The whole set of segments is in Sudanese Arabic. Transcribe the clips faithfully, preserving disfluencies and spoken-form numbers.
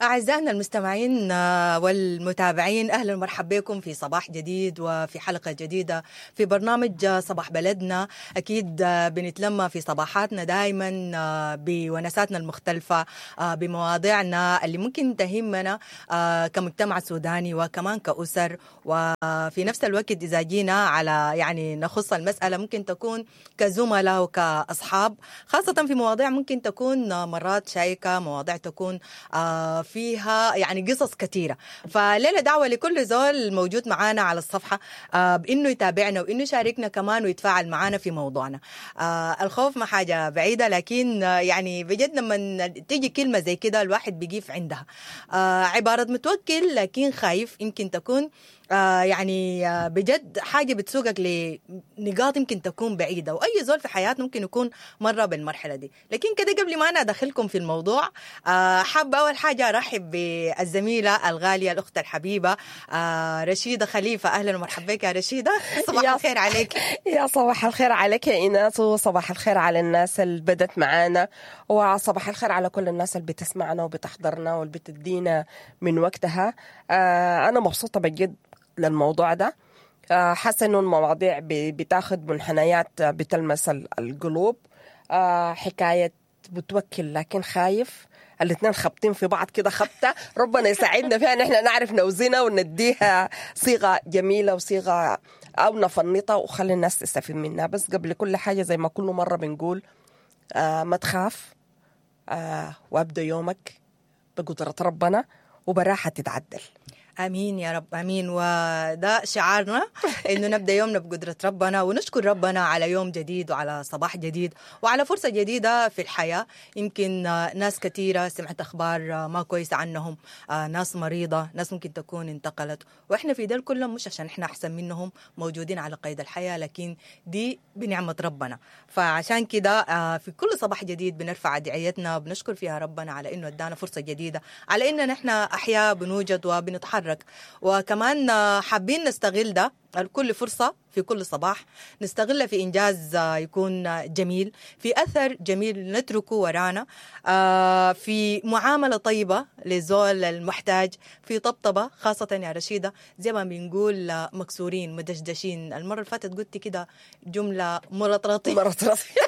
أعزائنا المستمعين والمتابعين، أهلا ومرحبا بكم في صباح جديد وفي حلقة جديدة في برنامج صباح بلدنا. أكيد بنتلمى في صباحاتنا دائما بونساتنا المختلفة، بمواضيعنا اللي ممكن تهمنا كمجتمع سوداني وكمان كأسر، وفي نفس الوقت إذا جينا على يعني نخص المسألة ممكن تكون كزملاء وكأصحاب، خاصة في مواضيع ممكن تكون مرات شائكة، مواضيع تكون فيها يعني قصص كثيرة. فليلة دعوة لكل زول موجود معانا على الصفحة بإنه يتابعنا وإنه يشاركنا كمان ويتفاعل معانا في موضوعنا. الخوف ما حاجة بعيدة، لكن يعني بجد لما تيجي كلمة زي كده الواحد بيقيف عندها. عبارة متوكل لكن خايف يمكن تكون آه يعني آه بجد حاجة بتسوقك لنقاط يمكن تكون بعيدة، وأي زول في حياتنا ممكن يكون مرة بالمرحلة دي. لكن كده قبل ما أنا أدخلكم في الموضوع، آه حابة أول حاجة أرحب بالزميلة الغالية الأخت الحبيبة آه رشيدة خليفة. أهلا ومرحبا بك يا رشيدة، صباح الخير عليك. يا صباح الخير عليك يا إيناس، وصباح الخير على الناس اللي بدت معانا، وصباح الخير على كل الناس اللي بتسمعنا وبتحضرنا واللي بتدينا من وقتها. آه أنا مبسوطة بجد للموضوع ده، حاسه انه المواضيع بتاخد منحنيات بتلمس القلوب. حكاية بتوكل لكن خايف، الاثنين خبطين في بعض كده خبطه، ربنا يساعدنا فيها نحن نعرف نوزنها ونديها صيغة جميلة وصيغة او نفنطها وخلي الناس تستفيد منها. بس قبل كل حاجة زي ما كل مرة بنقول، ما تخاف، وابدا يومك بقدره ربنا وبراحه تتعدل. امين يا رب، امين. وده شعارنا، انه نبدا يومنا بقدره ربنا ونشكر ربنا على يوم جديد وعلى صباح جديد وعلى فرصة جديدة في الحياة. يمكن ناس كثيرة سمعت اخبار ما كويسة عنهم، ناس مريضه، ناس ممكن تكون انتقلت، واحنا في دول كلهم مش عشان احنا احسن منهم موجودين على قيد الحياة، لكن دي بنعمه ربنا. فعشان كده في كل صباح جديد بنرفع ادعيتنا وبنشكر فيها ربنا على انه ادانا فرصة جديدة، على اننا نحن احياء بنوجد وبنتحرك. وكمان حابين نستغل ده كل فرصة في كل صباح نستغلها في إنجاز يكون جميل، في أثر جميل نتركه ورانا، في معاملة طيبة لزول المحتاج، في طبطبة خاصة يا رشيدة زي ما بنقول مكسورين مدشدشين. المرة اللي فاتت قلت كده جملة مرطرطين مرطرطين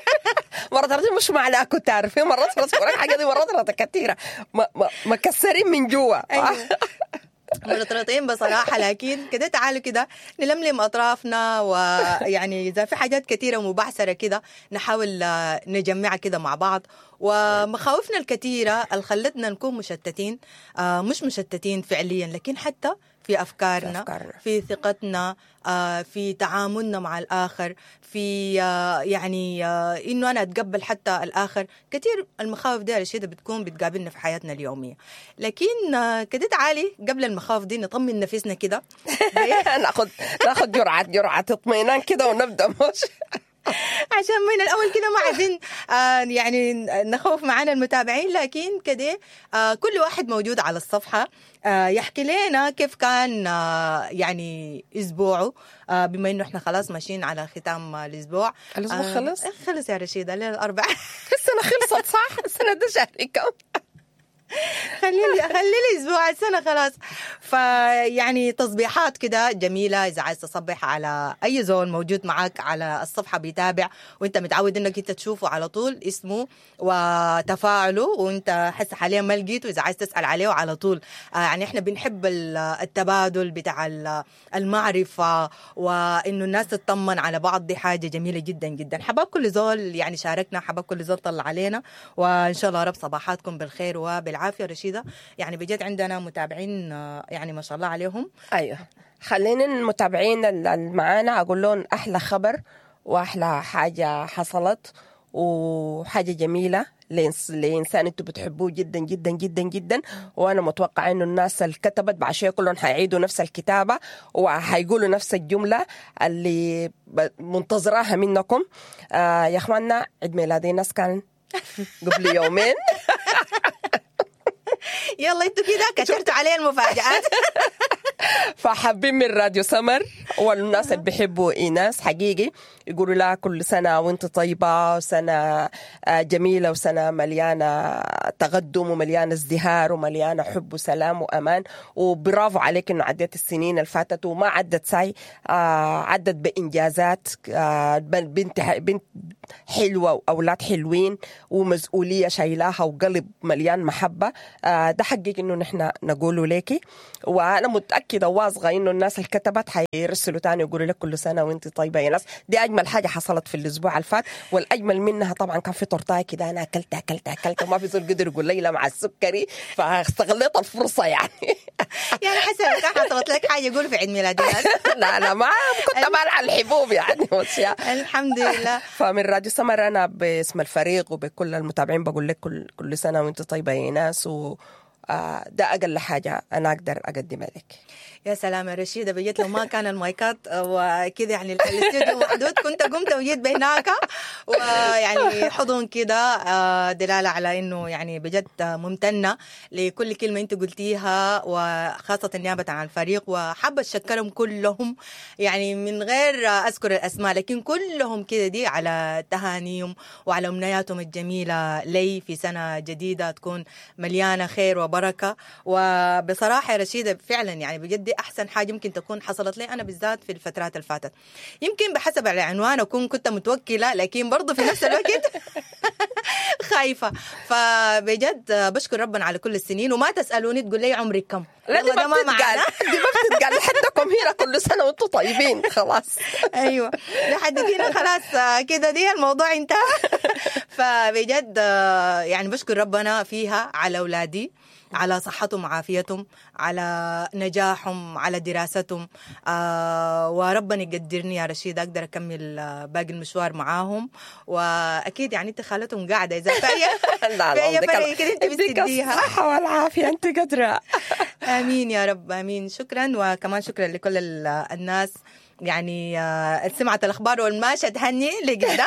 مرطرطين مش معناها كنت عارفين مرطرط الحاجة دي مرطرطة كثيرة، مكسرين من جوا. أيوة. مرطرطين بصراحة، لكن كده تعالوا كده نلملم أطرافنا، ويعني إذا في حاجات كثيرة ومبعثرة كده نحاول نجمعها كده مع بعض. ومخاوفنا الكثيرة اللي خلتنا نكون مشتتين، مش مشتتين فعليا لكن حتى في أفكارنا، في, أفكارنا. في ثقتنا، في تعاملنا مع الآخر، في يعني إنه أنا أتقبل حتى الآخر. كثير المخاوف دي رشيدة بتكون بتقابلنا في حياتنا اليومية. لكن كده تعالي قبل المخاوف دي نطمن نفسنا كده، ناخد ناخد جرعة جرعة اطمئنان كده ونبدأ مش عشان من الأول كده ما عايزين آه يعني نخوف معانا المتابعين، لكن كده آه كل واحد موجود على الصفحة آه يحكي لنا كيف كان آه يعني أسبوعه، آه بما إنه إحنا خلاص ماشيين على ختام الأسبوع. الأسبوع آه خلص؟ خلص يا رشيدة، ليلة الأربعاء. السنة خلصت صح؟ السنة ده شهر كم؟ خليلي خليلي اسبوع السنة خلاص. فيعني تصبيحات كده جميلة، اذا عايز تصبح على اي زول موجود معاك على الصفحة بيتابع وانت متعود انك انت تشوفه على طول اسمه وتفاعله، وانت حس حاليا ما لقيته اذا عايز تسال عليه على طول. يعني احنا بنحب التبادل بتاع المعرفة وانه الناس تطمن على بعض، دي حاجة جميلة جدا جدا. حباب كل زول يعني شاركنا، حباب كل زول طلع علينا، وان شاء الله رب صباحاتكم بالخير وبالعافيه. رشيدة يعني بجد عندنا متابعين يعني ما شاء الله عليهم. ايوه، خلينا المتابعين اللي معانا اقول لهم احلى خبر واحلى حاجة حصلت وحاجه جميلة لإنسان انتوا بتحبوه جدا جدا جدا جدا، وانا متوقع انه الناس اللي كتبت بعد شوية كلهم حيعيدوا نفس الكتابة وحيقولوا نفس الجملة اللي منتظراها منكم. آه يا اخواننا، عيد ميلادي ناس كان قبل يومين. يلا انتوا كده كترتوا علي المفاجآت. فحابين من راديو سمر والناس اللي بيحبوا ايناس حقيقي يقولوا لها كل سنة وانت طيبة، وسنة جميلة، وسنة مليانة تقدم ومليانة ازدهار ومليانة حب وسلام وامان. وبرافو عليك انه عديت السنين اللي فاتت وما عدت ساي، آه عدت بانجازات، آه بنت بنت حلوة واولاد حلوين ومسؤولية شايلاها وقلب مليان محبة. آه ده حقك انه نحن نقوله ليكي، وانا متاكدة واثقة انه الناس اللي كتبت حيرسلوا تاني يقولوا لك كل سنة وانت طيبة يا ناس. دي اجمل حاجة حصلت في الاسبوع اللي فات، والاجمل منها طبعا كان في تورتايه كده، انا اكلت اكلت اكلت وما في زول قدر يقول لي لا مع السكري، فاستغليت الفرصة يعني. يعني حسب كان حصلت لك حاجة يقول في عيد ميلادي. لا لا ما كنت بالع الحبوب يعني. الحمد لله. فمن راديو سمر انا باسم الفريق وبكل المتابعين بقول لك كل كل سنة وانت طيبة يا ناس، و ده أقل حاجة أنا أقدر أقدمها لك. يا سلام يا رشيدة، بجيت لو ما كان المايكات وكذا يعني الاستوديو محدود كنت قمت وجيت بهناك، ويعني حضن كده دلالة على إنه يعني بجد ممتنة لكل كلمة أنت قلتيها، وخاصة نيابة عن الفريق، وحابة أشكرهم كلهم يعني من غير أذكر الأسماء، لكن كلهم كده دي على تهانيهم وعلى أمنياتهم الجميلة لي في سنة جديدة تكون مليانة خير وبركة. وبصراحة يا رشيدة فعلا يعني بجد أحسن حاجة ممكن تكون حصلت لي أنا بالذات في الفترات اللي فاتت، يمكن بحسب العنوان أكون كنت متوكلة، لكن برضو في نفس الوقت خايفة. فبجد بشكر ربنا على كل السنين، وما تسألوني تقول لي عمرك كم، لا دي ما بتتقال، دي ما بتتقال لحدكم هنا كل سنة وانتم طيبين خلاص. أيوة لحد هنا خلاص كده دي الموضوع انتهى. فبجد يعني بشكر ربنا فيها على أولادي، على صحتهم وعافيتهم، على نجاحهم، على دراستهم، آه وربنا يقدرني يا رشيد أقدر أكمل باقي المشوار معاهم. وأكيد يعني أنت خالتهم قاعدة إذا في أي فرق كده أنت بتديها الصحة والعافية، أنت قادرة. آمين يا رب، آمين. شكرا، وكمان شكرا لكل الناس يعني سمعت الأخبار والماشة تهني لقدام.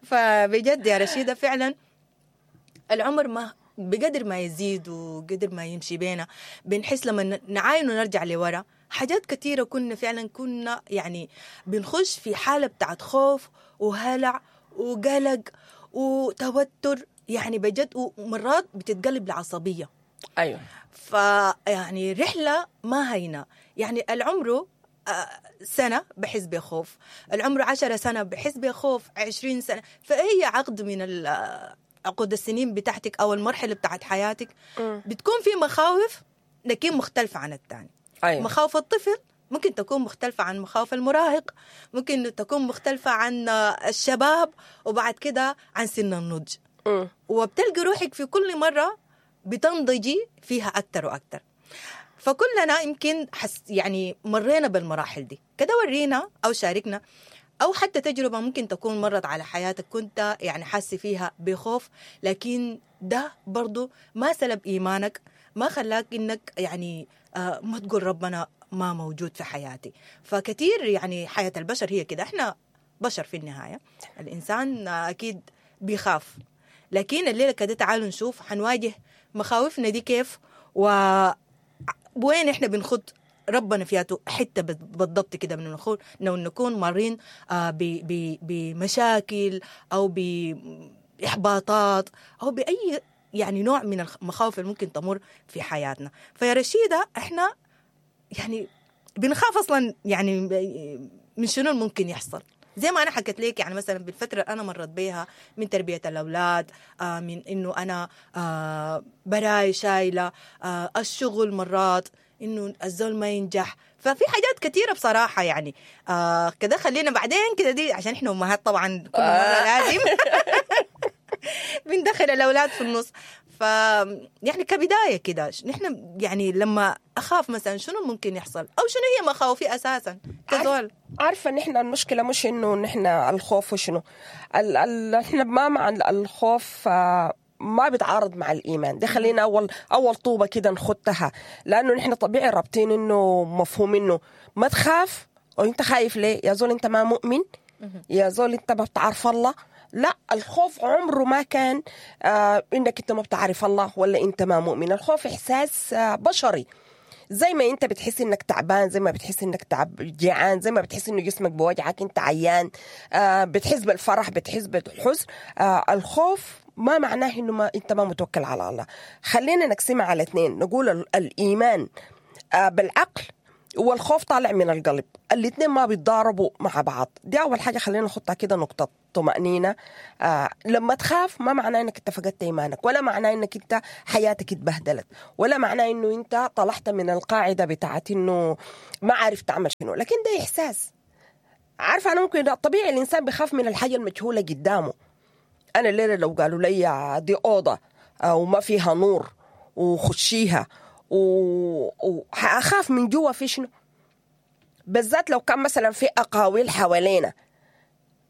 فبجد يا رشيدة فعلا العمر ما بقدر ما يزيد وقدر ما يمشي بينا بنحس لما نعاين ونرجع لورا حاجات كثيرة كنا فعلا كنا يعني بنخش في حالة بتاعت خوف وهلع وقلق وتوتر يعني بجد، ومرات بتتقلب لعصبية. أيوة. فيعني رحلة ما هينة، يعني العمر سنة بحس بخوف، العمر عشرة سنة بحس بخوف، عشرين سنة، فهي عقد من عقود السنين بتاعتك أو المرحلة بتاعت حياتك بتكون في مخاوف لكن مختلفة عن الثاني. أيوة. مخاوف الطفل ممكن تكون مختلفة عن مخاوف المراهق، ممكن تكون مختلفة عن الشباب، وبعد كده عن سن النضج. م. وبتلقي روحك في كل مرة بتنضجي فيها أكتر وأكتر. فكلنا يمكن حس يعني مرينا بالمراحل دي كده. ورينا أو شاركنا أو حتى تجربة ممكن تكون مرت على حياتك كنت يعني حاسة فيها بخوف، لكن ده برضو ما سلب إيمانك، ما خلاك إنك يعني آه ما تقول ربنا ما موجود في حياتي. فكثير يعني حياة البشر هي كده، إحنا بشر في النهاية، الإنسان أكيد بيخاف، لكن الليلة كده تعالوا نشوف حنواجه مخاوفنا دي كيف، و وين إحنا بنخط ربنا فياته حتة بالضبط كده من نخون لو نكون مارين بمشاكل أو بإحباطات أو بأي يعني نوع من المخاوف اللي ممكن تمر في حياتنا. فيا رشيدة إحنا يعني بنخاف أصلا يعني من شنو ممكن يحصل، زي ما أنا حكيت لك يعني مثلا بالفترة أنا مرت بيها من تربية الأولاد، آه من إنه أنا آه براي شايلة، آه الشغل مرات إنه الزول ما ينجح، ففي حاجات كثيرة بصراحة يعني آه كده. خلينا بعدين كده دي عشان إحنا أمهات طبعا كل مرة لازم بندخل الأولاد في النص. ف يعني كبداية كده نحن يعني لما أخاف مثلا شنو ممكن يحصل أو شنو هي مخاوفي أساسا كزول. عارفة نحن المشكلة مش إنه نحن الخوف وشنو ال ال نحن ما مع الخوف ما بيتعارض مع الإيمان. ده خلينا أول أول طوبة كده نخدتها، لأنه نحن طبيعي رابطين إنه مفهوم إنه ما تخاف، وإنت خايف ليه يا زول؟ أنت ما مؤمن يا زول، أنت ما بتعرف الله. لا، الخوف عمره ما كان آه إنك أنت ما بتعرف الله ولا أنت ما مؤمن. الخوف إحساس آه بشري. زي ما انت بتحس انك تعبان، زي ما بتحس انك تعب جيعان، زي ما بتحس انه جسمك بوجعك، انت عيان، آه بتحس بالفرح، بتحس بالحزن. آه الخوف ما معناه انه ما انت ما متوكل على الله. خلينا نقسمها على اثنين، نقول ال- الايمان آه بالعقل والخوف طالع من القلب، الاثنين ما بيتضاربوا مع بعض. دي اول حاجة خلينا نحطها كده نقطة طمأنينة. آه لما تخاف ما معناه انك انت فقدت ايمانك، ولا معناه انك انت حياتك اتبهدلت، ولا معناه انه انت طلعت من القاعدة بتاعت انه ما عارف تعمل شنو، لكن ده احساس. عارفه انا ممكن طبيعي الانسان بيخاف من الحاجة المجهولة قدامه. انا الليلة لو قالوا لي دي اوضة وما فيها نور وخشيها وحأخاف من جوا في شنو، بالذات لو كان مثلا في اقاويل حوالينا،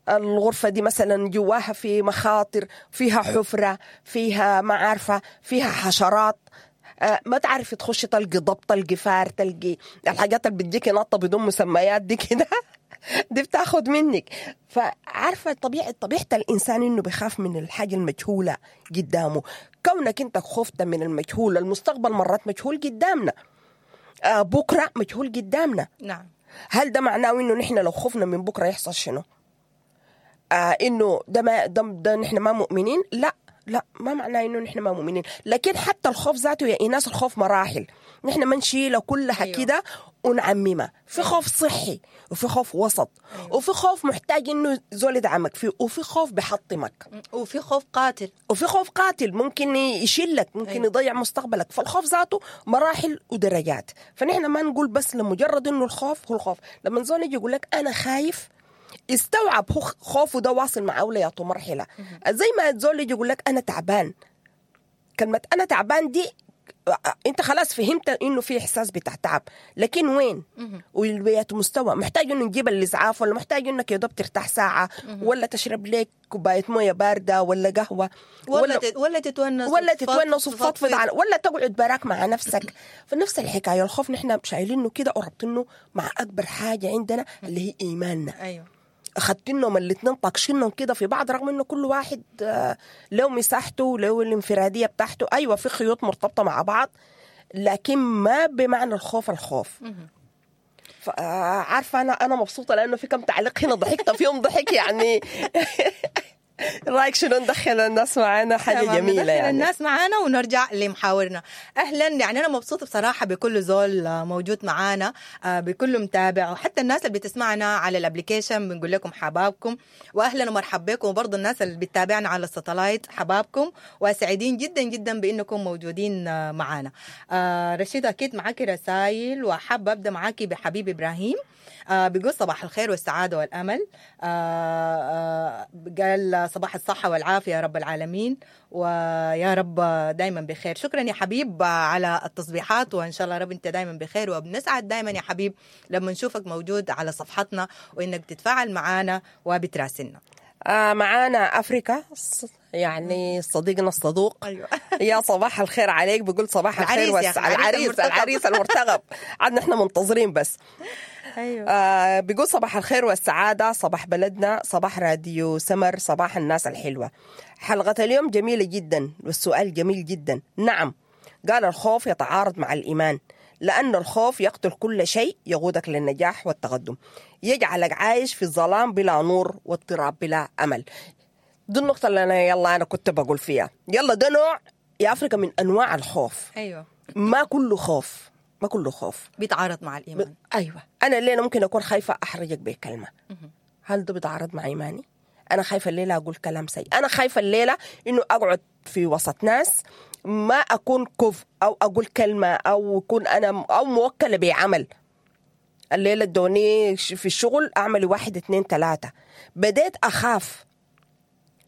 الغرفة دي مثلا جواها في مخاطر، فيها حفرة، فيها ما عارفة، فيها حشرات، آه ما تعرفي تخشي تلقي ضب، تلقي فار، تلقي الحاجات اللي بتجيكي نطة بدون مسميات دي كده دي بتاخد منك. فعارفة طبيعة طبيعة الإنسان إنه بيخاف من الحاجة المجهولة قدامه. كونك أنت خفت من المجهول، المستقبل مرات مجهول قدامنا، آه بكرة مجهول قدامنا. نعم. هل ده معناه إنه نحن لو خفنا من بكرة يحصل شنو؟ آه إنه ده ما ده, ده نحن ما مؤمنين؟ لا لا، ما معناه إنه نحن ما مؤمنين، لكن حتى الخوف ذاته يا إيناس الخوف مراحل، نحن ما نشيله كلها. أيوه. كده ونعممها. في خوف صحي، وفي خوف وسط، أيوه. وفي خوف محتاج إنه زول يدعمك فيه، وفي خوف بحطمك، وفي خوف قاتل، وفي خوف قاتل ممكن يشيلك، ممكن أيوه. يضيع مستقبلك. فالخوف ذاته مراحل ودرجات. فنحن ما نقول بس لمجرد إنه الخوف هو الخوف. لما زول يجي يقول لك أنا خايف، استوعب هو خوفه ده واصل مع أولياته مرحلة. زي ما زول يجي يقول لك أنا تعبان، كلمة أنا تعبان دي أنت خلاص فهمت إنه في إحساس بتاع تعب، لكن وين والويات مستوى؟ محتاج إنه نجيب الإسعاف، ولا محتاج إنك يا دوب ترتاح ساعة، ولا تشرب لك كوباية موية باردة ولا قهوة، ولا ولا, ولا تتونس، ولا تتونس وتفضفض، ولا تقعد براك مع نفسك. فنفس الحكاية الخوف نحن شايلينه كده وربطينه مع أكبر حاجة عندنا اللي هي إيماننا. أيوه. أخدتنهم الاثنين طاقشينهم كده في بعض، رغم انه كل واحد له مساحته له الانفراديه بتاعته. ايوه في خيوط مرتبطة مع بعض، لكن ما بمعنى الخوف الخوف. عارفه انا انا مبسوطة لانه في كم تعليق هنا ضحكت فيهم ضحك يعني. رايك شنو ندخل الناس معانا؟ حاجة جميلة ندخل يعني الناس معانا ونرجع لمحاورنا. اهلا، يعني انا مبسوطة بصراحة بكل زول موجود معانا، بكل متابع، وحتى الناس اللي بتسمعنا على ال application بنقول لكم حبابكم واهلا ومرحبا بكم، وبرضه الناس اللي بتتابعنا على ال satellite حبابكم، وسعيدين جدا جدا بانكم موجودين معانا. رشيده اكيد معاكي رسائل، وحابة ابدا معاكي بحبيب ابراهيم. بيقول صباح الخير والسعادة والأمل، قال صباح الصحة والعافية يا رب العالمين، ويا رب دايما بخير. شكرا يا حبيب على التصبيحات، وإن شاء الله رب أنت دايما بخير، وبنسعد دايما يا حبيب لما نشوفك موجود على صفحتنا وإنك تتفاعل معنا وبتراسلنا. آه معانا أفريكا، يعني صديقنا الصدوق. أيوة. يا صباح الخير عليك، بقول صباح الخير العريس والس... العريس العريس المرتغب. عاد نحن منتظرين بس. أيوة. آه بيقول صباح الخير والسعادة، صباح بلدنا، صباح راديو سمر، صباح الناس الحلوة. حلقة اليوم جميلة جدا والسؤال جميل جدا. نعم، قال الخوف يتعارض مع الإيمان، لأن الخوف يقتل كل شيء يقودك للنجاح والتقدم، يجعلك عايش في الظلام بلا نور واضطراب بلا أمل. دي النقطة اللي أنا يلا أنا كنت بقول فيها. يلا ده نوع يا أفريقيا من أنواع الخوف. أيوة. ما كله خوف، ما كله خوف بيتعارض مع الإيمان. ب... أيوة، أنا الليلة ممكن أكون خايفة أحرجك بكلمة، هل ده بيتعارض مع إيماني؟ أنا خايفة الليلة أقول كلام سيء، أنا خايفة الليلة إنه أقعد في وسط ناس ما أكون كف أو أقول كلمة أو أكون أنا أو موكلة بعمل. الليلة ادوني في الشغل أعمل واحد اتنين تلاتة، بديت أخاف.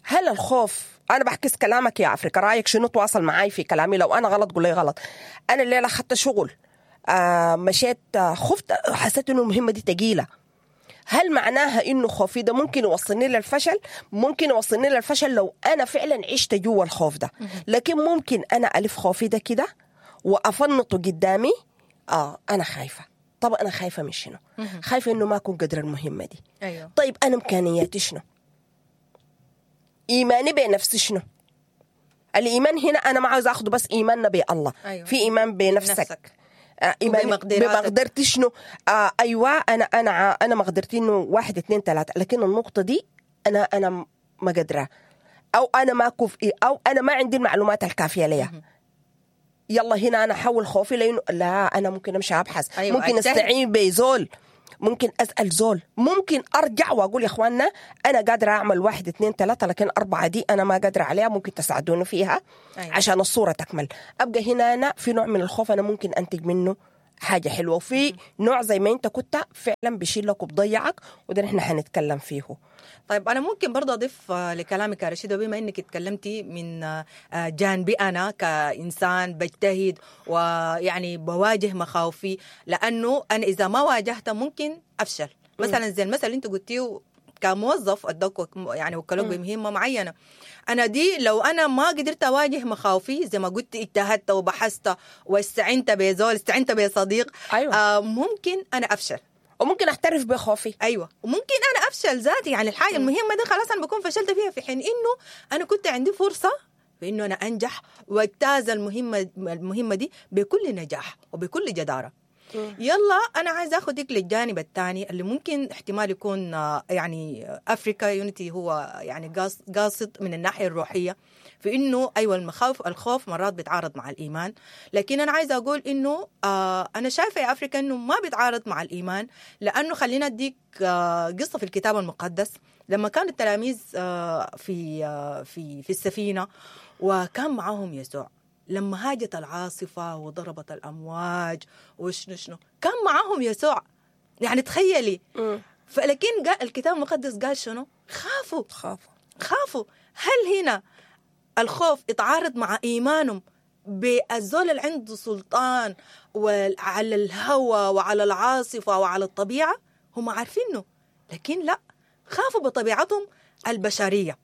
هل الخوف، أنا بحكي كلامك يا أفريقيا، رأيك شنو؟ تواصل معاي في كلامي، لو أنا غلط قول لي غلط. أنا الليلة أخذت شغل، آه مشيت، آه خفت، حسيت إنه المهمة دي تقيلة. هل معناها إنه خوفي ده ممكن يوصلني للفشل؟ ممكن يوصلني للفشل لو أنا فعلا عشت جوا الخوف ده. لكن ممكن أنا ألف خوفي ده كده وأفنطه قدامي. آه أنا خايفة. طب أنا خايفة من شنو؟ خايفة إنه ما أكون قدر المهمة دي. أيوه. طيب أنا إمكانياتي شنو؟ إيماني بنفسي شنو؟ الإيمان هنا أنا ما عاوز أخده بس إيماننا بالله. أيوه. في إيمان بنفسك. نفسك. آه ايماني وبمقدراتك. بمقدرتي شنو؟ آه ايوه انا انا ع- انا مقدرتي انه واحد اتنين تلاتة، لكن النقطة دي انا انا ما قادرة، او انا ما كفئي، او انا ما عندي المعلومات الكافيه ليها. يلا هنا انا احول خوفي لانه لا انا ممكن امشي ابحث، أيوة، ممكن أجتهد. استعين بزول، ممكن اسال زول، ممكن ارجع واقول يا اخواننا انا قادرة اعمل واحد اتنين تلاتة، لكن اربعة دي انا ما قادرة عليها، ممكن تساعدوني فيها. أيوة. عشان الصورة تكمل. ابقى هنا انا في نوع من الخوف انا ممكن انتج منه حاجة حلوة، وفي نوع زي ما انت كنت فعلا بيشيلك وبضيعك، وده نحن حنتكلم فيه. طيب أنا ممكن برضه أضيف آه، لكلامك يا رشيدة، بما إنك اتكلمتي من آه، آه، جانبي أنا كإنسان بجتهد ويعني بواجه مخاوفي، لأنه أنا إذا ما واجهتها ممكن أفشل. مثلا زي المثل اللي أنت قلتيه كموظف أدوك وك- يعني وكلوك بمهمة معينة، أنا دي لو أنا ما قدرت أواجه مخاوفي زي ما قلت اجتهدت وبحثت واستعنت بزول، استعنت بصديق، أيوة. آه ممكن أنا أفشل. وممكن احترف بخوفي. ايوه، وممكن انا افشل ذاتي، يعني الحاجة المهمة دي خلاص انا بكون فشلت فيها، في حين انه انا كنت عندي فرصة بانه انا انجح واجتاز المهمة المهمة دي بكل نجاح وبكل جداره. يلا انا عايز اخدك للجانب الثاني اللي ممكن احتمال يكون آه، يعني افريكا يونيتي هو يعني قاص- قاصد من الناحية الروحية في انه ايوه المخاوف الخوف مرات بيتعارض مع الايمان، لكن انا عايزه اقول انه آه انا شايفه يا افريكا انه ما بيتعارض مع الايمان، لانه خلينا اديك آه قصة في الكتاب المقدس لما كانوا التلاميذ آه في آه في في السفينة وكان معاهم يسوع، لما هاجت العاصفة وضربت الأمواج وشنو شنو كان معاهم يسوع، يعني تخيلي. فلكن قال الكتاب المقدس قال شنو؟ خافوا خافوا خافوا. هل هنا الخوف اتعارض مع إيمانهم بالزول اللي عنده سلطان وعلى الهوى وعلى العاصفة وعلى الطبيعة؟ هم عارفينه، لكن لا، خافوا بطبيعتهم البشرية،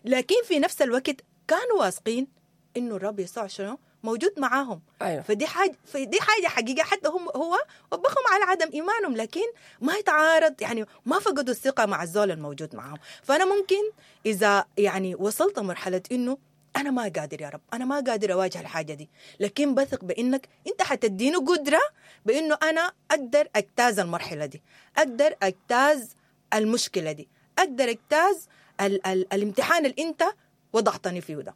لكن في نفس الوقت كانوا واثقين انه الرب يسوع شنو موجود معاهم. أيوة. فدي حاجة فدي حاجة حقيقة، حتى هم هو وبخهم على عدم ايمانهم، لكن ما يتعارض، يعني ما فقدوا الثقة مع الزول الموجود معاهم. فانا ممكن اذا يعني وصلت مرحلة انه انا ما قادر يا رب، انا ما قادر اواجه الحاجة دي، لكن بثق بانك انت حتديني قدره بانه انا اقدر اجتاز المرحلة دي، اقدر اجتاز المشكلة دي، اقدر اجتاز ال ال الامتحان اللي انت وضعتني فيه ده.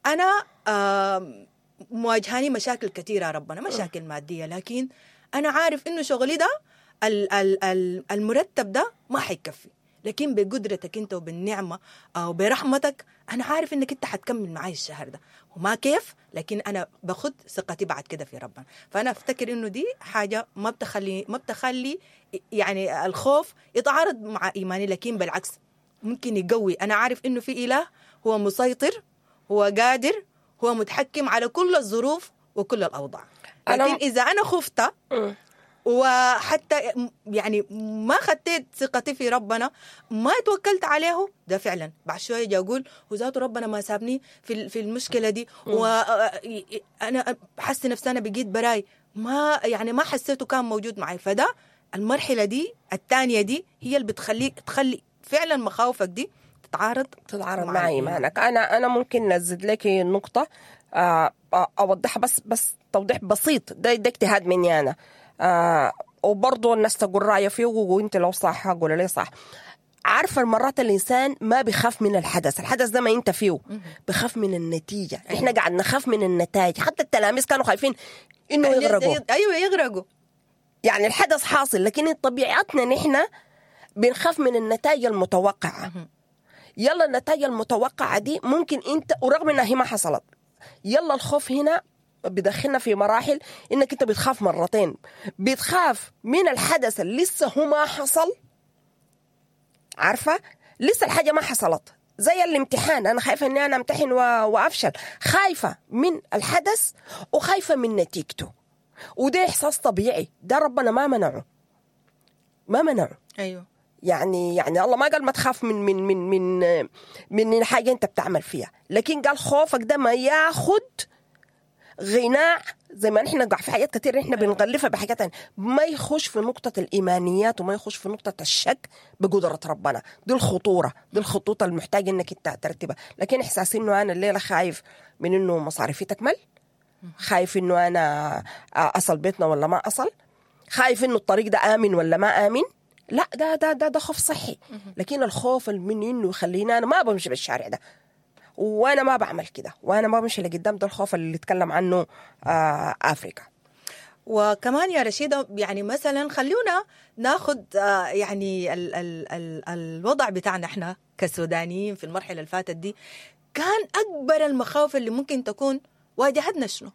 انا آم، مواجهاني مشاكل كثيرة يا ربنا، مشاكل مادية، لكن انا عارف انه شغلي ده ال ال ال المرتب ده ما حيكفي، لكن بقدرتك انت وبالنعمه او برحمتك انا عارف انك انت حتكمل معي الشهر ده، وما كيف، لكن انا باخد ثقتي بعد كده في ربنا. فانا افتكر انه دي حاجة ما بتخلي ما بتخلي يعني الخوف يتعارض مع ايماني، لكن بالعكس ممكن يقوي. انا عارف انه في اله هو مسيطر، هو قادر، هو متحكم على كل الظروف وكل الاوضاع. أنا- لكن اذا انا خفت وحتى يعني ما خدت ثقتي في ربنا، ما توكلت عليه، ده فعلا بعد شوية اجي اقول هو ذاته ربنا ما سابني في في المشكلة دي، وانا حاسه نفسي انا بقيت براي، ما يعني ما حسيته كان موجود معي. فده المرحلة دي الثانية دي هي اللي بتخليك تخلي فعلا مخاوفك دي تتعارض تتعارض مع مع الإيمان. ايمانك. انا انا ممكن نزد لك نقطة آه، آه، اوضحها بس بس توضيح بسيط، ده ده اجتهاد مني انا، آه، وبرضه الناس تقول رايها فيه، وانت لو صح قول لي صح. عارفه المرات الانسان ما بيخاف من الحدث، الحدث ده ما انت فيه، بخاف من النتيجة. احنا قاعد نخاف من النتائج، حتى التلاميذ كانوا خايفين انه يغرقوا. ايوه يغرقوا. يعني الحدث حاصل، لكن طبيعتنا نحن بنخاف من النتائج المتوقعة. يلا النتائج المتوقعة دي ممكن انت، ورغم انها هي ما حصلت، يلا الخوف هنا بدخلنا في مراحل انك انت بتخاف مرتين، بتخاف من الحدث اللي لسه هو ما حصل، عارفة لسه الحاجة ما حصلت، زي الامتحان، انا خايفة اني انا امتحن و... وافشل، خايفة من الحدث وخايفة من نتيجته، وده احساس طبيعي، ده ربنا ما منعه، ما منعه. ايوه يعني يعني الله ما قال ما تخاف من من من من من حاجة انت بتعمل فيها، لكن قال خوفك ده ما ياخد غناء، زي ما نحن في حاجات كتير نحن بنغلفها بحاجات تانية، ما يخش في نقطة الإيمانيات وما يخش في نقطة الشك بقدرة ربنا. دي الخطورة، دي الخطوط المحتاج إنك أنت ترتبها. لكن إحساس إنه أنا الليلة خايف من إنه مصاريفي تكمل، خايف انه انا اصل بيتنا ولا ما اصل، خايف انه الطريق ده امن ولا ما امن. لا ده ده ده ده خوف صحي. لكن الخوف من انه يخليني انا ما بمشي بالشارع ده وانا ما بعمل كده وانا ما بمشي لقدام، ده الخوف اللي اتكلم عنه آه افريكا. وكمان يا رشيدة يعني مثلا خلونا ناخد آه يعني ال ال ال الوضع بتاعنا احنا كسودانيين في المرحلة اللي فاتت دي، كان أكبر المخاوف اللي ممكن تكون واجهتنا شنو؟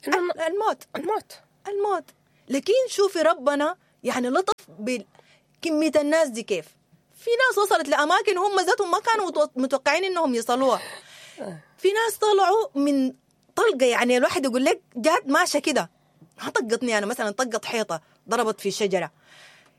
الموت. الموت الموت. لكن شوفي ربنا يعني لطف بكمية الناس دي كيف. في ناس وصلت لأماكن هم ذاتهم ما كانوا متوقعين إنهم يصلوها. في ناس طلعوا من طلقة، يعني الواحد يقول لك جات ماشية كده، ما طقتني أنا مثلا، طقت حيطة، ضربت في شجرة.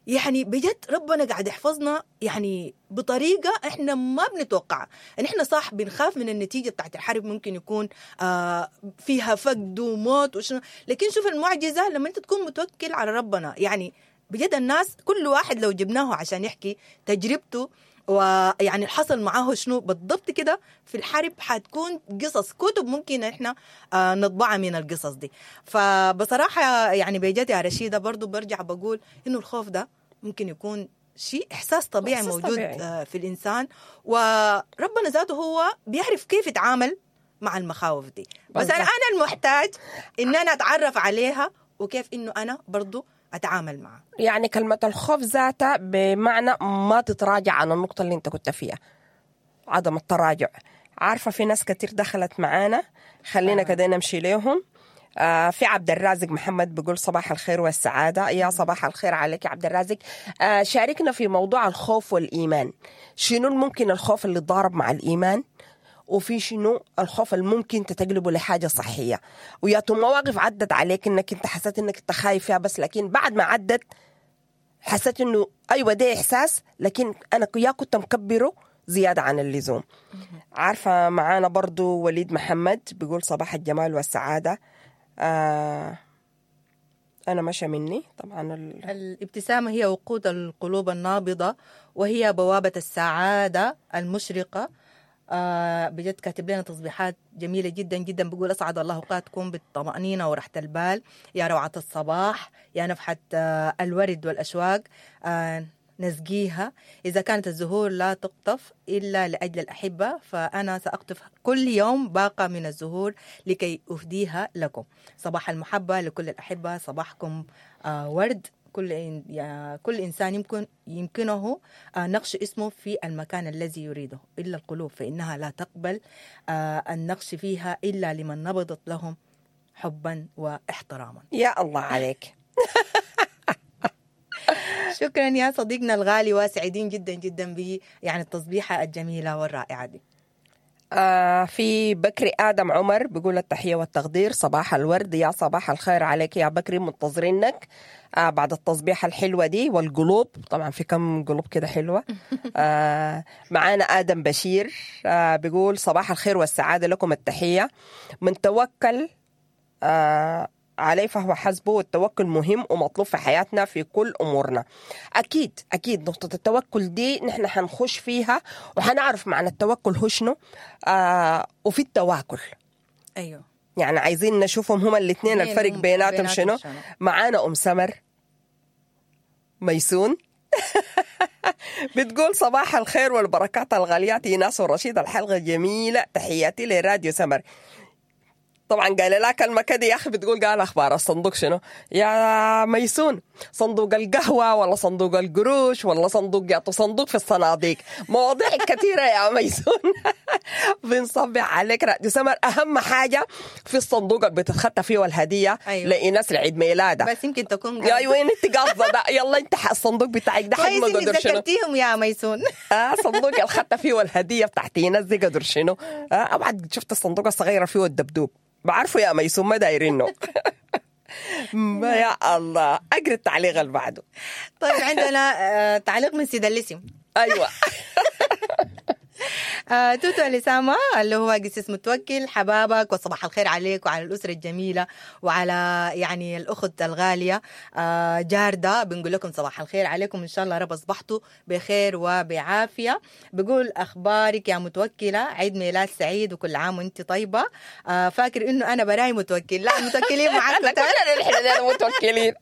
يعني بجد ربنا قاعد يحفظنا يعني بطريقة إحنا ما بنتوقعها. إن إحنا صح بنخاف من النتيجة بتاعت الحرب، ممكن يكون آه فيها فقد وموت وشنو، لكن شوف المعجزة لما أنت تكون متوكل على ربنا. يعني بجد الناس كل واحد لو جبناه عشان يحكي تجربته ويعني حصل معاه شنو بالضبط كده في الحرب، حتكون قصص كتب ممكن احنا آه نطبعها من القصص دي. فبصراحة يعني بجد يا رشيدة برضو برجع بقول إنه الخوف ده ممكن يكون شيء إحساس طبيعي إحساس موجود طبيعي. آه في الإنسان، وربنا ذاته هو بيعرف كيف يتعامل مع المخاوف دي. بس أنا أنا المحتاج إن أنا أتعرف عليها وكيف إنه أنا برضو أتعامل معه. يعني كلمة الخوف ذاتها بمعنى ما تتراجع عن النقطة اللي انت كنت فيها، عدم التراجع. عارفة في ناس كتير دخلت معانا، خلينا آه. كده نمشي لهم. آه في عبد الرازق محمد بيقول صباح الخير والسعادة. يا صباح الخير عليك يا عبد الرازق. آه شاركنا في موضوع الخوف والإيمان. شنو الممكن الخوف اللي ضارب مع الإيمان، وفي شنو الخوف الممكن تتقلبه لحاجة صحية، ويا مواقف عدت عليك انك انت حسيت انك انت خايف فيها، بس لكن بعد ما عدت حسيت انه ايوه ده احساس، لكن انا يا كنت مكبره زيادة عن اللزوم. عارفة معانا برضو وليد محمد بيقول صباح الجمال والسعادة. آه أنا مشى مني طبعا ال... الابتسامة هي وقود القلوب النابضة، وهي بوابة السعادة المشرقة. آه بجد كاتب لنا تصبيحات جميلة جدا جدا، بيقول أسعد الله أوقاتكم بالطمأنينة وراحة البال، يا روعة الصباح، يا نفحة آه الورد والأشواق، آه نسقيها، إذا كانت الزهور لا تقطف إلا لأجل الأحبة فأنا سأقطف كل يوم باقة من الزهور لكي أهديها لكم. صباح المحبة لكل الأحبة، صباحكم آه ورد. كل إن... كل إنسان يمكن يمكنه نقش اسمه في المكان الذي يريده، إلا القلوب فإنها لا تقبل النقش فيها إلا لمن نبضت لهم حبا واحتراما. يا الله عليك. شكرا يا صديقنا الغالي، وسعيدين جدا جدا ب يعني التصبيحة الجميلة والرائعة دي. آه في بكري آدم عمر بيقول التحية والتقدير، صباح الورد، يا صباح الخير عليك يا بكري، منتظرينك آه بعد التصبيحة الحلوة دي والقلوب، طبعا في كم قلوب كده حلوة. آه معانا آدم بشير آه بيقول صباح الخير والسعادة لكم، التحية من توكل آه عليه فهو حسبه، والتوكل مهم ومطلوب في حياتنا في كل أمورنا. أكيد أكيد نقطة التوكل دي نحن حنخش فيها وحنعرف معنى التوكل هو شنو، آه وفي التواكل. أيوه يعني عايزين نشوفهم هما الاثنين الفرق بيناتهم شنو. معانا أم سمر ميسون بتقول صباح الخير والبركات الغاليات إيناس ورشيد، الحلقة جميلة، تحياتي لراديو سمر. طبعا قال لا كلمة كده يا أخي، بتقول قال أخبار الصندوق شنو يا ميسون؟ صندوق القهوة ولا صندوق القروش ولا صندوق يعطوا صندوق في الصناديق، مواضيع كثيرة يا ميسون. بنصبح عليك راديو سمر. أهم حاجة في الصندوق اللي بتتخطى فيه الهدية. أيوة. لإيناس لعيد ميلادها، بس يمكن تكون يا أيوة أنت قصده ده، يلا أنت الصندوق بتاعك ده حجمه قدر شنو؟ ذكرتيهم يا ميسون. آه صندوق الخطة فيه الهدية بتاعت إيناس دي قدر شنو؟ آه أبعد شفت الصندوق الصغيرة فيه الدبدوب، بعرفه يا ميسون ما دايرينه. ما يا الله، اقرا التعليق اللي بعده. طيب عندنا تعليق من سيد اللسم. ايوه. آه توتو الاسامه اللي هو قسيس متوكل، حبابك وصباح الخير عليك وعلى الاسرة الجميلة وعلى يعني الاخت الغالية آه جارده. بنقول لكم صباح الخير عليكم، ان شاء الله رب اصبحتوا بخير وبعافيه. بقول اخبارك يا متوكله، عيد ميلاد سعيد وكل عام وانت طيبة. آه فاكر انه انا براي متوكل، لا متوكلين معاك كلنا نحن متوكلين،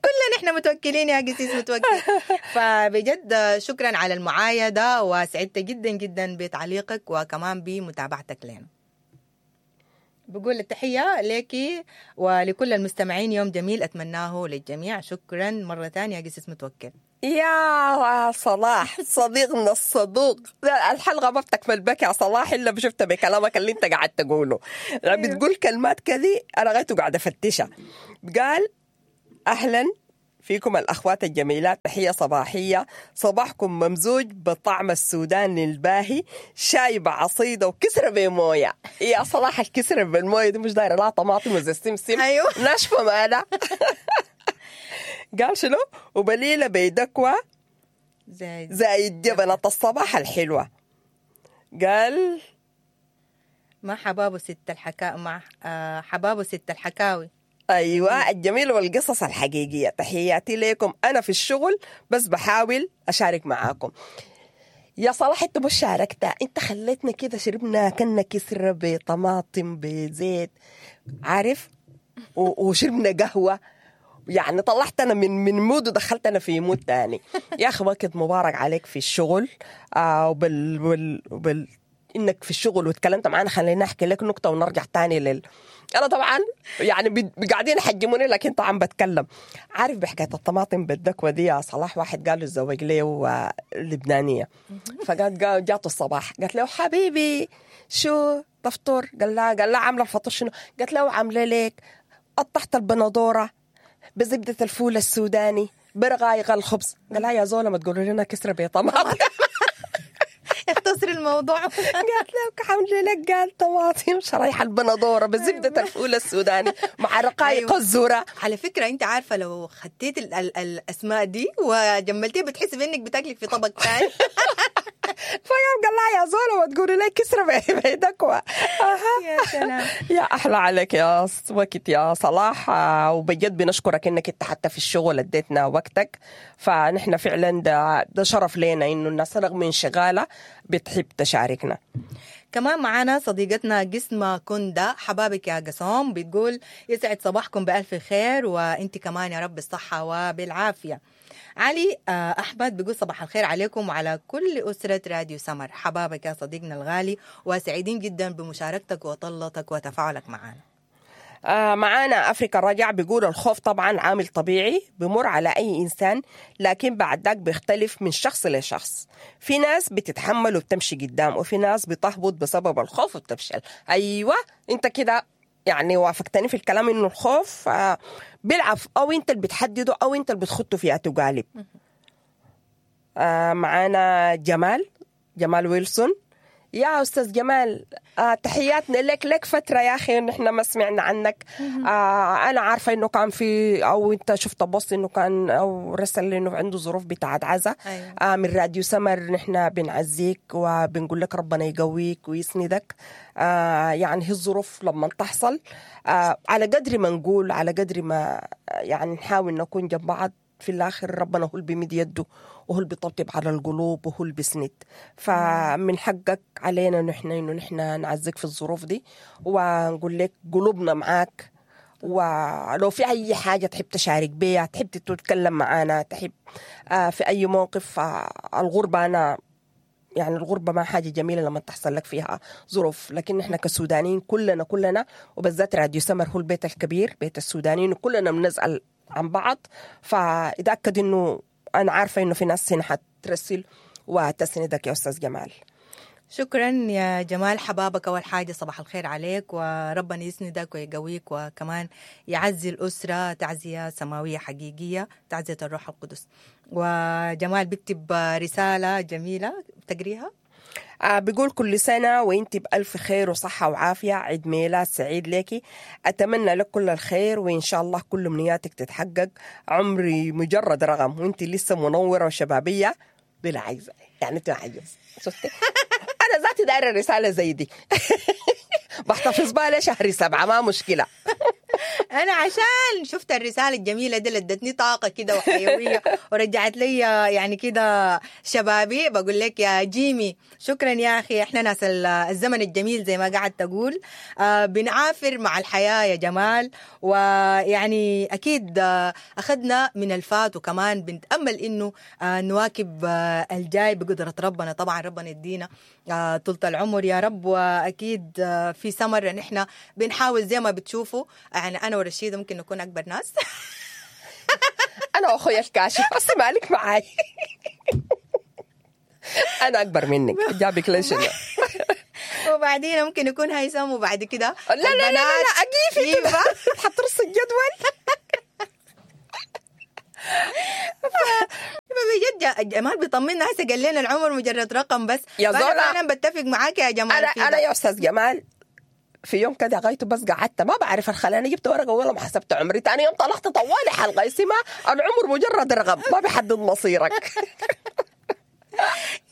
كلنا نحن متوكلين يا قسيس متوكل. فبجد شكرا على المعايده، وسعدت جدا جدا بتعليقك وكمان بمتابعتك لنا. بقول التحية لك ولكل المستمعين، يوم جميل أتمناه للجميع. شكرا مرة ثانية يا قسيس متوكل. يا صلاح صديقنا الصدوق، الحلقة ما بتكمل بك يا صلاح إلا بشفتها بكلامك اللي انت قاعد تقوله. بتقول كلمات كذي أنا غايته قاعدة أفتشها. قال أهلا فيكم الأخوات الجميلات، تحية صباحية، صباحكم ممزوج بطعم السودان الباهي، شاي بعصيدة وكسرة بموية. يا صلاح الكسرة بالموية دي مش دايرة لا طماطم وزي السمسم، أيوه ناشفة مالا. قال شنو؟ وبليلة بيدكوة زي زايد جبنة الصباح الحلوة. قال ما حبابة ست الحكا مع آه حبابة ست الحكاوي. أيوة الجميل والقصص الحقيقية. تحياتي لكم، أنا في الشغل بس بحاول أشارك معاكم. يا صلاح أنت مش شاركت، أنت خليتنا كده شربنا كنا كسرة بطماطم بزيت عارف، وشربنا قهوة، يعني طلعتنا من من mood ودخلتنا في mood تاني. يا أخي وقت مبارك عليك في الشغل، آه وبال وبال, وبال إنك في الشغل وتكلمت معانا. خلينا أحكي لك نقطة ونرجع تاني لل أنا طبعا يعني قاعدين يحجموني لكن طبعا بتكلم. عارف بحكاية الطماطم بالدكوة دي يا صلاح، واحد قال له اتزوج ليه لبنانية، فقالت جاته الصباح قالت له حبيبي شو تفطر؟ قال لها قال لها عاملة الفطور شنو؟ قالت له عاملة لك قطعت البندورة بزبدة الفول السوداني برغايق الخبز. قال لها يا زولة ما تقولوا لنا كسرة بطماطم. اختصر الموضوع. قالت له عامله لك قال طماطم شرايح البندوره بزبده الفول السوداني مع رقايق الذرة. على فكرة انت عارفه لو خدتيت ال ال الاسماء دي وجملتيها بتحسي بانك بتاكلي في طبق ثاني. فقام قال لها يا زوله ما تقولي لي كسره بيدك. يا سلام يا احلى عليك يا وقت يا صلاح، وبجد بنشكرك انك انت حتى في الشغل اديتنا وقتك، فنحن فعلا ده, ده شرف لنا انه الناس رغم انشغالها بتحب تشاركنا. كمان معانا صديقتنا قسمة كندا، حبابك يا قسوم، بتقول يسعد صباحكم بألف خير وانت كمان يا رب الصحة وبالعافية. علي أحمد بيقول صباح الخير عليكم وعلى كل أسرة راديو سمر. حبابك يا صديقنا الغالي، وسعيدين جدا بمشاركتك وطلتك وتفاعلك معنا. آه معانا أفريقيا رجع بيقول الخوف طبعا عامل طبيعي بمر على أي إنسان، لكن بعد ذاك بيختلف من شخص لشخص. في ناس بتتحمل وبتمشي قدام، وفي ناس بتهبط بسبب الخوف وبتفشل. أيوة أنت كده يعني وافقتني في الكلام إنه الخوف آه بيلعب، أو أنت اللي بتحدده أو أنت اللي بتخطه فيها تقالب. آه معانا جمال جمال ويلسون. يا أستاذ جمال، آه تحياتنا لك، لك فترة يا أخي نحن ما سمعنا عنك. آه أنا عارفة إنه كان في، أو أنت شفت بوست إنه كان، أو رسل إنه عنده ظروف بتاعت عزا. أيوة. آه من راديو سمر نحن بنعزيك وبنقول لك ربنا يقويك ويسندك. آه يعني هي الظروف لما تحصل، آه على قدر ما نقول، على قدر ما يعني نحاول نكون جنب بعض، في الآخر ربنا هو اللي بيمد يده وهو اللي بيطبطب على القلوب وهو اللي بيسند. فمن حقك علينا نحن إنه نحن نعزك في الظروف دي ونقول لك قلوبنا معاك، ولو في أي حاجة تحب تشارك بيها، تحب تتكلم معانا، تحب في أي موقف. الغربة أنا يعني الغربة ما حاجة جميلة لما تحصل لك فيها ظروف، لكن نحن كسودانيين كلنا كلنا وبالذات راديو سمر هو البيت الكبير، بيت السودانيين، وكلنا بنسأل عن بعض. فإتأكد إنه أنا عارفة إنه في ناس هنا حترسل وتسندك يا أستاذ جمال. شكرا يا جمال، حبابك. أول حاجة صباح الخير عليك، وربنا يسندك ويقويك، وكمان يعزي الأسرة تعزية سماوية حقيقية، تعزية الروح القدس. وجمال بيكتب رسالة جميلة بتقريها؟ آه بيقول كل سنة وانت بألف خير وصحة وعافية، عيد ميلاد سعيد لك، أتمنى لك كل الخير وإن شاء الله كل أمنياتك تتحقق، عمري مجرد رقم وانت لسه منورة وشبابية بلا عجز. يعني انت عجز، شفتي؟ أنا ذاتي دايرة رسالة زي دي. بحتفظ بها لشهر سبعة، ما مشكلة. انا عشان شفت الرسالة الجميلة دي اللي ادتني طاقة كده وحيوية ورجعت لي يعني كده شبابي، بقول لك يا جيمي شكرا يا اخي. احنا ناس الزمن الجميل زي ما قاعد تقول، آه بنعافر مع الحياة يا جمال، ويعني اكيد آه اخذنا من الفات، وكمان بنتامل انه آه نواكب آه الجاي بقدره ربنا. طبعا ربنا يدينا آه طولة العمر يا رب. واكيد آه في سمر نحن بنحاول زي ما بتشوفوا، يعني انا ورشيده ممكن نكون اكبر ناس. انا واخويا الكاشف، بس مالك معاي. انا اكبر منك، جابك ليش؟ وبعدين ممكن يكون هيثم، وبعد كده لا لا لا لا اقيفي كده حترص الجدول. بجد جمال بيطمنا هسه، قال لنا العمر مجرد رقم بس. يا زولا انا بتفق معاك يا جمال. انا انا يا استاذ جمال في يوم كده غايته بس قعدت ما بعرف الخلاني، جبت ورقة ولا ما حسبت عمري. ثاني يوم طلعت طوالي حلقة اسمها العمر مجرد رقم ما بيحدد مصيرك.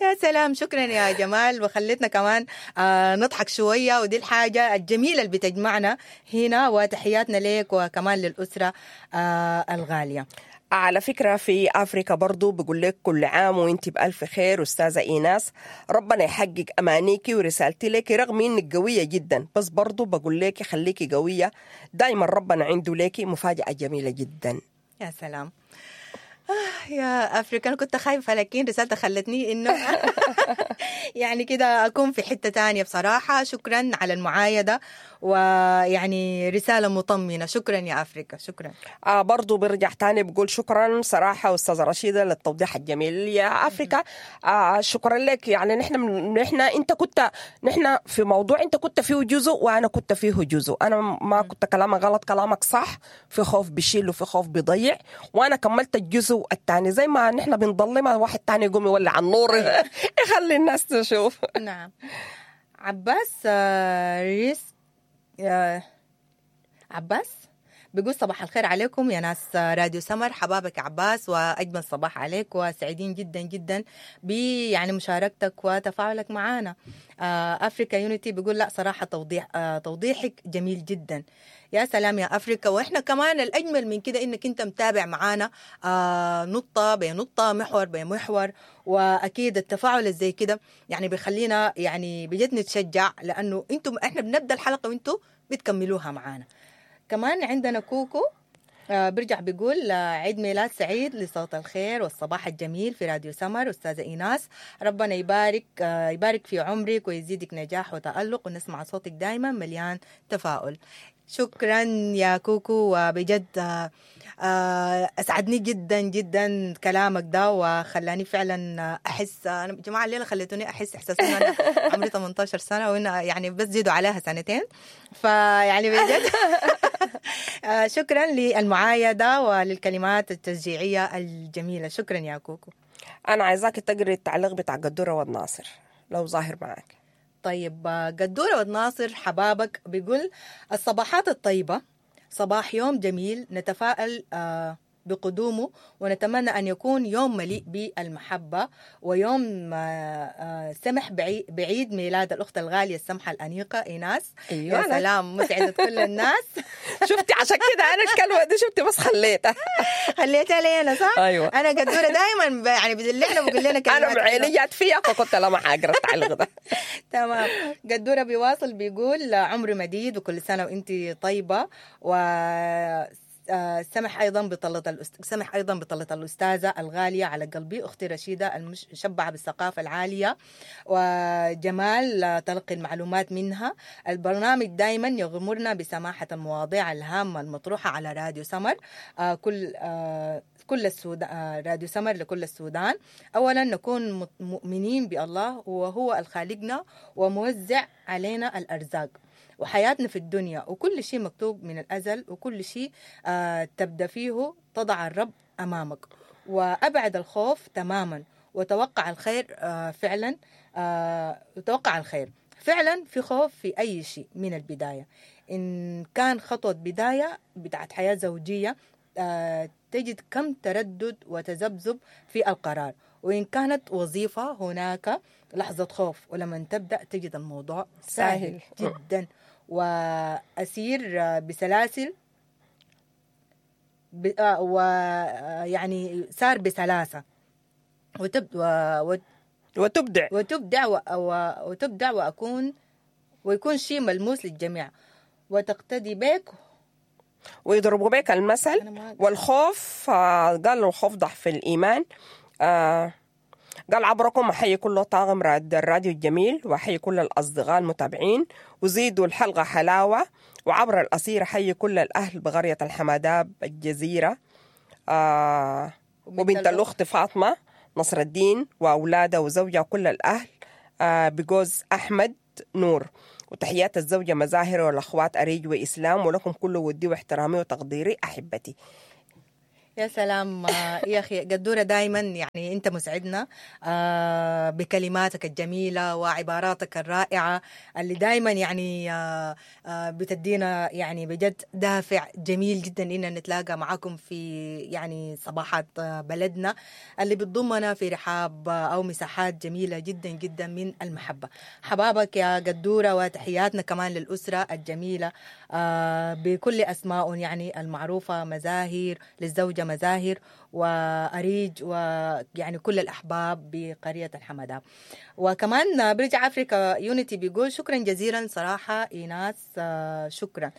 يا سلام، شكرا يا جمال، وخلتنا كمان آه نضحك شوية، ودي الحاجة الجميلة اللي بتجمعنا هنا. وتحياتنا لك وكمان للاسرة آه الغالية. على فكرة في أفريقيا برضو بقول لك كل عام وانت بألف خير أستاذة إيناس، ربنا يحقق أمانيكي ورسالتي لك رغم إنك قوية جدا، بس برضو بقول لك خليكي قوية دايما، ربنا عنده لك مفاجأة جميلة جدا. يا سلام آه يا أفريقيا، أنا كنت خايفة لكن رسالتها خلتني إنه يعني كده أكون في حتة تانية بصراحة. شكرا على المعايدة، ويعني رسالة مطمئنة. شكرا يا أفريقيا، شكرا. آه برضو برجع تاني بقول شكرا صراحة أستاذة رشيدة للتوضيح الجميل يا أفريقيا. آه شكرا لك. يعني نحن نحن أنت كنت، نحن في موضوع أنت كنت فيه جزء وأنا كنت فيه جزء. أنا ما كنت كلامك غلط، كلامك صح، في خوف بشيل وفي خوف بيضيع، وأنا كملت الجزء الثاني. زي ما نحن بنضلمها واحد تاني يقوم يولع النور يخلي الناس تشوف. نعم. عباس ريس عباس بيقول صباح الخير عليكم يا ناس راديو سمر. حبابك عباس، واجمل صباح عليك، وسعيدين جدا جدا ب يعني مشاركتك وتفاعلك معنا. افريكا يونيتي بيقول لا صراحة توضيح توضيحك جميل جدا. يا سلام يا افريكا. واحنا كمان الاجمل من كده انك انت متابع معانا نقطة بنقطة، محور بمحور، واكيد التفاعل زي كده يعني بيخلينا يعني بجد نتشجع، لانه انتم احنا بنبدا الحلقة وانتم بتكملوها معانا. كمان عندنا كوكو آه برجع بيقول عيد ميلاد سعيد لصوت الخير والصباح الجميل في راديو سمر. أستاذة إيناس ربنا يبارك آه يبارك في عمرك ويزيدك نجاح وتألق، ونسمع صوتك دايما مليان تفاؤل. شكرا يا كوكو، وبجد آه أسعدني جدا جدا كلامك ده، وخلاني فعلا أحس. أنا جماعة الليلة خليتوني أحس إحساس إنه أنا عمري ثمانية عشر سنة، وإن يعني بس زيدوا عليها سنتين، فيعني بجد شكرا للمعايدة وللكلمات التشجيعية الجميلة. شكرا يا كوكو. أنا عايزاك تقري التعليق بتاع قدورة والناصر لو ظاهر معك. طيب قدورة والناصر حبابك بيقول الصباحات الطيبة، صباح يوم جميل نتفائل بقدومه، ونتمنى أن يكون يوم مليء بالمحبة، ويوم سمح بعيد ميلاد الأخت الغالية السمحة الأنيقة إيناس. أيوة. يا سلام، مسعدة كل الناس. شفتي عشان كده أنا الكلمة دي شفتي بس خليتها خليتها لي أنا صح؟ أيوة. أنا قدورة دايما يعني بدلعنا وبقول لنا كلمات. أنا عيني جات فيها فكنت لا ما حأقرأ التعليق ده. تمام. قدورة بيواصل بيقول عمر مديد وكل سنة وأنت طيبة، و سمح ايضا بطلة الأست... سمح ايضا بطلة الاستاذة الغالية على قلبي اختي رشيده المشبعة بالثقافة العالية وجمال تلقي المعلومات منها. البرنامج دائما يغمرنا بسماحة المواضيع الهامة المطروحة على راديو سمر، كل كل السودان، راديو سمر لكل السودان. اولا نكون مؤمنين بالله وهو الخالقنا وموزع علينا الارزاق وحياتنا في الدنيا، وكل شيء مكتوب من الأزل، وكل شيء آه تبدأ فيه تضع الرب أمامك، وأبعد الخوف تماما وتوقع الخير آه فعلا آه وتوقع الخير فعلا. في خوف في أي شيء من البداية، إن كان خطوة بداية بتاعت حياة زوجية آه تجد كم تردد وتذبذب في القرار، وإن كانت وظيفة هناك لحظة خوف، ولما تبدأ تجد الموضوع سهل جدا وأسير بسلاسل ب... ويعني سار بسلاسة وتب... و... وتبدع وتبدع و... وتبدع وأكون ويكون شيء ملموس للجميع وتقتدي بك ويضربوا بك المثل. والخوف قال الخوف ضعف الإيمان. آه قال عبركم أحيي كل طاقم الراديو الجميل وأحيي كل الأصدقاء المتابعين وزيدوا الحلقة حلاوة. وعبر الأسير أحيي كل الأهل بقرية الحماداب الجزيرة آه وبنت الأخت فاطمة نصر الدين وأولادها وزوجها وكل الأهل آه بجوز أحمد نور، وتحيات الزوجة مزاهر والأخوات أريج وإسلام، ولكم كل ودي واحترامي وتقديري أحبتي. يا سلام يا أخي قدورة، دايما يعني أنت مسعدنا بكلماتك الجميلة وعباراتك الرائعة اللي دايما يعني بتدينا يعني بجد دافع جميل جدا إننا نتلاقى معاكم في يعني صباحات بلدنا اللي بتضمنا في رحاب أو مساحات جميلة جدا جدا من المحبة. حبابك يا قدورة، وتحياتنا كمان للأسرة الجميلة بكل أسماء يعني المعروفة، مزاهر للزوجة مزاهر وأريج ويعني كل الأحباب بقرية الحمداب. وكمان برجع أفريكا يونيتي بيقول شكرا جزيلا صراحة إيناس، شكرا.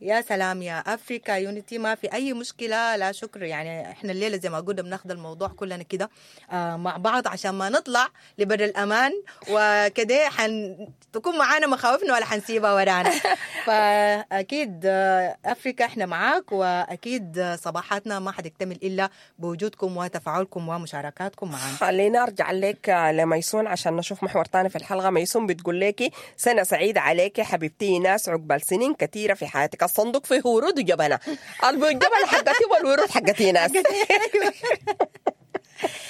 يا سلام يا أفريكا يونيتي، ما في أي مشكلة، لا شكر. يعني إحنا الليلة زي ما قلنا بناخد الموضوع كلنا كده مع بعض عشان ما نطلع لبر الأمان وكده حن تكون معانا مخاوفنا ولا حنسيبها ورانا. فأكيد أفريكا إحنا معاك، وأكيد صباحاتنا ما حتكتمل إلا بوجودكم وتفاعلكم ومشاركاتكم معنا. خلينا أرجع لك لميسون عشان نشوف محور تاني في الحلقة. ميسون بتقول لك سنة سعيدة عليك حبيبتي ناس، عقبال سنين كثيرة في حياتك. الصندوق فيه ورود وجبنة، الجبنة حقتي والورود حقتي ناس.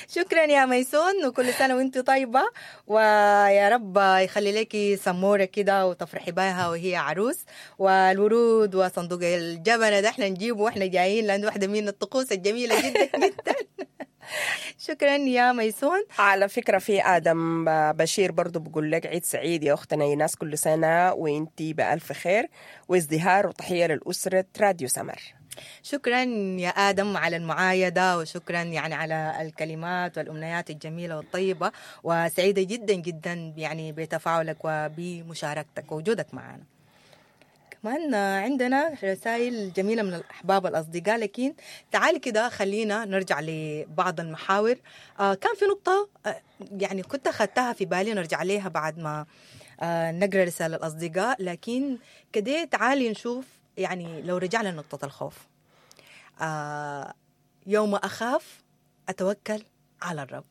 شكرا يا ميسون، وكل سنة وانت طيبة، ويا رب يخلي لك سمورة كده وتفرحي بها وهي عروس. والورود وصندوق الجبنة ده احنا نجيبه واحنا جايين، لأنه واحدة من الطقوس الجميلة جدا جدا. شكرا يا ميسون. على فكرة في آدم بشير برضو بقول لك عيد سعيد يا أختنا إيناس، كل سنة وانتي بألف خير وازدهار، وتحية للأسرة راديو سمر. شكرا يا آدم على المعايدة، وشكرا يعني على الكلمات والأمنيات الجميلة والطيبة، وسعيدة جدا جدا يعني بتفاعلك وبمشاركتك ووجودك معنا. كمان عندنا رسائل جميلة من الأحباب الأصدقاء، لكن تعال كده خلينا نرجع لبعض المحاور. آه كان في نقطة آه يعني كنت أخذتها في بالي نرجع لها بعد ما آه نقرأ رسالة الأصدقاء، لكن كده تعالي نشوف يعني لو رجعنا لنقطة الخوف. آه يوم أخاف أتوكل على الرب،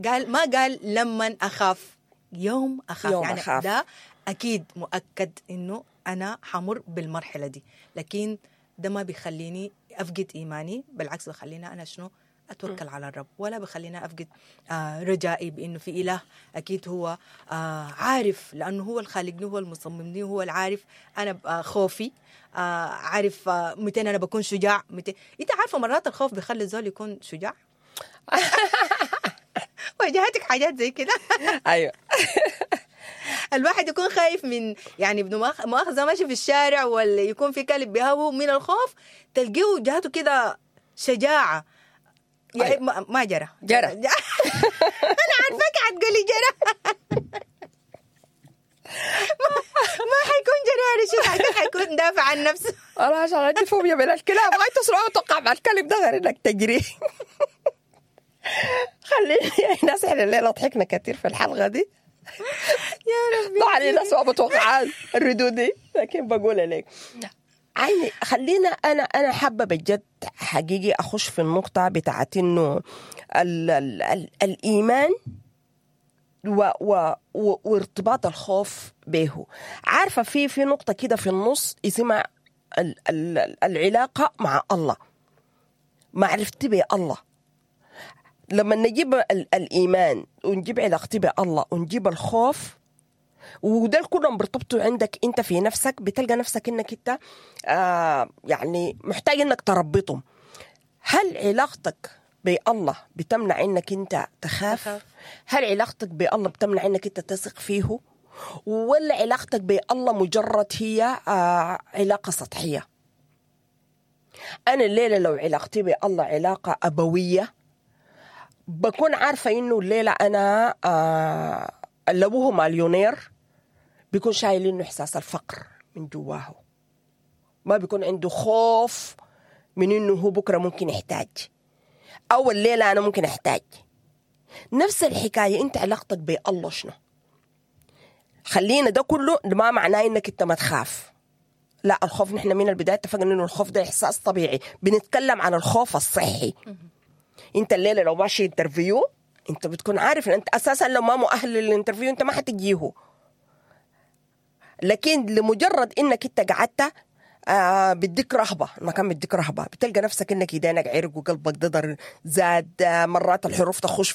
قال ما قال لما أخاف، يوم أخاف، يوم يعني أخاف. ده أكيد مؤكد إنه أنا حمر بالمرحلة دي، لكن ده ما بيخليني أفقد إيماني، بالعكس بخليني أنا شنو أتوكل على الرب، ولا بخليني أفقد آه رجائي بأنه في إله أكيد هو آه عارف، لأنه هو الخالقني، هو المصممني، هو العارف أنا خوفي، آه عارف آه متى أنا بكون شجاع متى. أنت عارفة مرات الخوف بيخلي الزول يكون شجاع. واجهتك حاجات زي كده؟ أيوة. الواحد يكون خايف من يعني ابن مؤاخذة ماشي في الشارع ولا يكون في كلب بيهوه من الخوف، تلقيه جهته كده شجاعة. يعني أيوة. ما جرى جرى. أنا عارفك حتقولي جرى. ما حيكون جرى يا رشيد، حيكون دافع عن نفسه. أنا عشان عندي فوبيا من الكلاب، ما تسرع وتقع مع الكلب ده غير إنك تجري. خليني ناس، إحنا الليلة ضحكنا كثير في الحلقة دي يا ربي. طبعا الناس ما متوقعات الردود دي، لكن بقول لك عيني خلينا انا انا حابة بجد حقيقي اخش في النقطة بتاعت انه ال ال ال الايمان و و وارتباط الخوف به. عارفه في في نقطة كده في النص اسمها ال ال العلاقة مع الله، معرفتي بالله. لما نجيب الإيمان ونجيب علاقتي بالله ونجيب الخوف، وده كلهم بيرتبطوا عندك انت في نفسك، بتلقى نفسك انك انت آه يعني محتاج انك تربطهم. هل علاقتك بالله بتمنع انك انت تخاف؟ تخاف. هل علاقتك بالله بتمنع انك انت تثق فيه؟ ولا علاقتك بالله مجرد هي آه علاقة سطحية؟ انا الليلة لو علاقتي بالله علاقة ابويه، بكون عارفه انه الليلة انا آه اللي ابوه مليونير بيكون شايل انه احساس الفقر من جواه، ما بيكون عنده خوف من انه هو بكره ممكن يحتاج، او الليلة انا ممكن احتاج. نفس الحكاية، انت علاقتك بالله شنو؟ خلينا ده كله ما معناه انك انت ما تخاف. لا، الخوف نحن من البداية اتفقنا انه الخوف ده احساس طبيعي. بنتكلم عن الخوف الصحي. انت الليلة لو ماشي interview، انت بتكون عارف ان انت اساسا لو ما مؤهل لل interview انت ما حتجيهو، لكن لمجرد انك انت قعدت آه بيديك رهبة، المكان بيديك رهبة، بتلقى نفسك انك ايدينك عرق وقلبك ضدر زاد، آه مرات الحروف تخش.